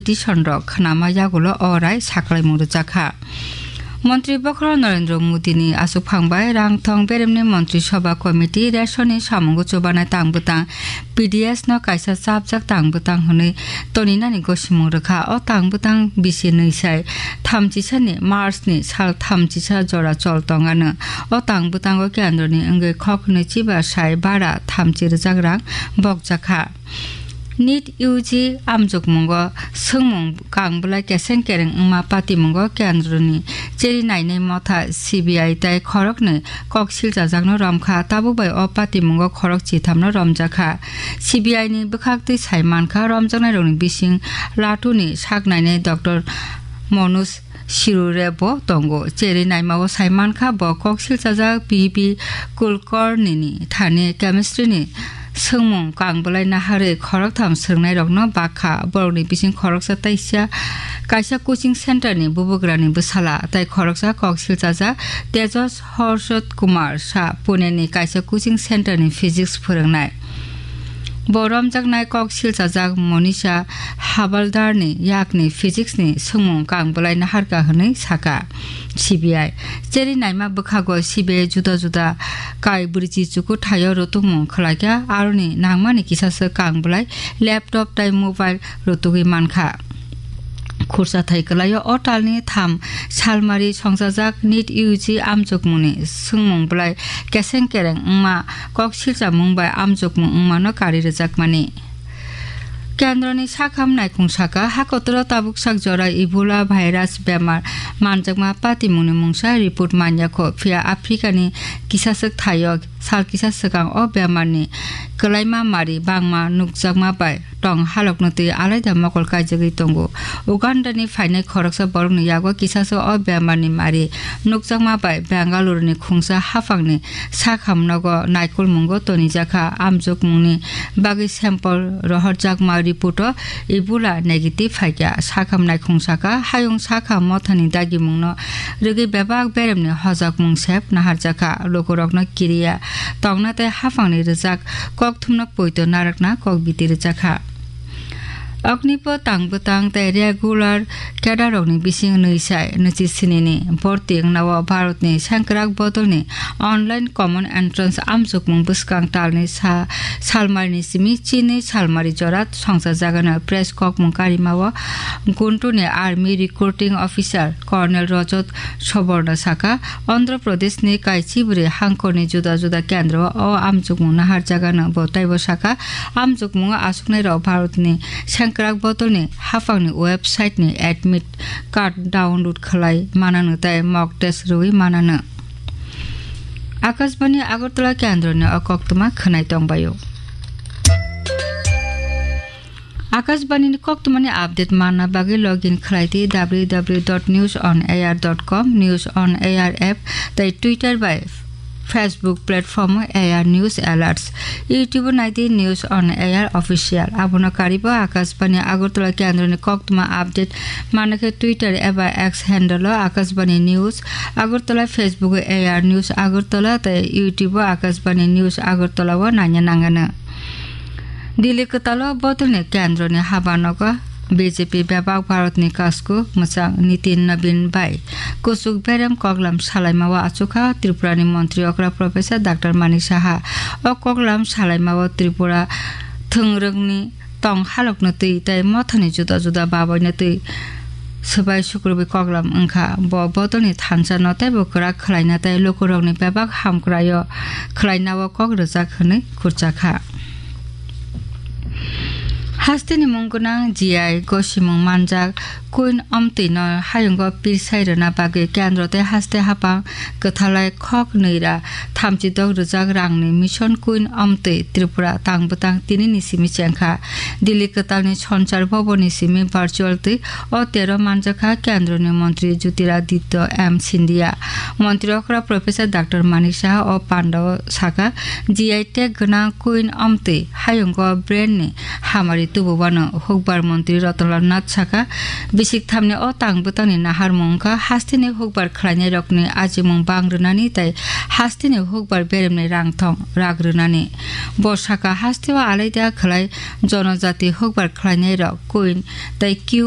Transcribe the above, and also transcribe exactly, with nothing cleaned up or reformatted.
Tison rok khnama yagulo o rai saklaimung rwjakha. Montri bokhorok Narendra Modi ni aswkphang bai rangthong beremni Montri Sabha Committee ration ni samungo chubanai tang bwtang P D S no kaisa chapjak tang bwtang hwnwi toninani gosimung rwkha. O tang bwtang bisi nwi sai thamchisa ni March ni sal thamchisa jora chol tongano. O tang bwtango kendroni wngwi khok hwnwi chiba sai bara thamchi rwjak rang bokjakha. NEET U G amjokmungo swngmung kang bwlai keseng kereng wngma patimungo kendroni cheri nainai motha C B I tai khoroknwi kok silchajakno romkha. Tabuk bai o patimungo khorok chithamno romjakha. C B I ni bwkhaktwi sai mankha, romjaknairokni bising Latuni sak nainai Doctor Manoj Sirure bo tongo. Cheri naimao sai mankha, bo kok silchajak P B Kulkarni ni thani chemistry ni swngmung kang bwlai naharwi khoroktham swrwngnairokno bakha. Borokni bising khoroksa taisa kaisa coaching center ni bubagrani bwsala, tai khoroksa kok silchajak Tejas Harshad Kumar Shah, Pune ni kaisa coaching center ni physics phwrwngnai. Bo romjaknai kok silchajak Monisha Habaldarni yakni physics ni swngmung kang bwlai naharkha hwnwi saka C B I. Cheri naima bwkhago C B I juda juda kai bwrwichi chukuthaio rwtwkmung khwlaikha, aroni nangmani kisaswk kang bwlai laptop tai mobile rwtugwi mankha. Khursa thai kwlaio o talni tham salmari songchajak NEET U G amjokmungni swngmung bwlai keseng kereng wngma kok silchamung bai amjokmung wngmano kari rwjakmani. Kendroni sakham naikhung saka, hakotoro tabuk sak jora Ebola virus bemar manjakma patimungni mungsa report manyakho, phiya Africani kisaswk thaio sal kisa swkang o bemarni kwlaima mari bangma nukjakma bai tong halokno twi alaida mokol kaijagwi tongo. Ugandani phainai khoroksa borokni yago kisaso o bemarni mari nukjakma bai Bengaluruni khungsa haphangni sakhamnogo naikolmungo tonijakha. Amjokmungni bagwi sample rohorjakma report-o Ebola negative phaikha. Sakham naikhung saka, hayung sakham mothani dagimungno rwgwi bebak beremni hojakmung sep naharjakha. Lukurokno kiriya tongna tei haphangni rwjak kokthumno poito narwkna kok biti rwjakha. Oknipo tang bwtang tei regular cadre rokni bising nwi sai nwichi sinini borti wngnao Bharatni sengkrak bodolni online common entrance amjokmung bwskang talni sa salmarini simi chinwi salmari jora songchajagano. Press kokmung karimao Guntuni army recruiting officer Colonel Rajat Suborna saka, Andhra Pradeshni kaichibri hangkorni juda juda kendro o amjokmung naharjagano. Bo taibo saka, amjokmungo aswknairok Bharatni sengkrak bodolni haphangni website-ni admit card download khlai manano tei mock test rwui manano. Akashbani Agartala kendroni o koktwma khwnai tongbaio. Akashbani ni koktwmani update manna bagwi login khlai di W W W dot news on air dot com, News on Air app tei Twitter bai Facebook platform A R News Alerts. YouTube nai di News on Air Official. Abono karibo Akashbani Agartala kendroni koktwma update manna khe Twitter eba X handle o Akashbani News Agartala, Facebook A R News Agartala tei YouTube o Akashbani News Agartala o naina nangano. Delhi kwtalo bodolni kendroni habanogo B J P bebak Bharatni kasku mwchang Nitin Nabin bai kuchuk berem koklam salaimao achukha Tripurani montri okra Professor Doctor Manik Saha. O koklam salaimao Tripura thwngrwngni tong halokno twi tei mothani juda juda baboino twi swbai sukrubwi koklam wngkha. Bo bodolni thansa no teibo kwrak khlaina tei lukurokni bebak hamkraio khlainao kok rwjak hwnwi khurchakha. Hasteni mung gwnang G I gosimung manjak Queen Omtwi no hayungo pirsai rwna bagwi kendro tei haste haphang kwthalai khok nwi ra thamchi dok rwjak rangni Mission Queen Omtwi Tripura tang bwtang tinini simi chengkha. Delhi kwtalni Sonchar Bhavanni simi virtual twi o tero manjakha kendroni montri Jyotiraditya M Scindia. Montri okra Professor Doctor Manik Saha o pandao saka, G I tag gwnang Queen Omtwi hayungo brand ni hamari tububano. Hukbar montri Ratanlal Nath saka, bisik thamni o tang bwtangni naharmung wngkha hasteni hukbar khlainairokni ajimung bang rwnani tei hasteni hukbar beremni rangthong rak rwnani. Bo saka, hasteo alaida khlai jonojati hukbar khlainairok Queen tei Q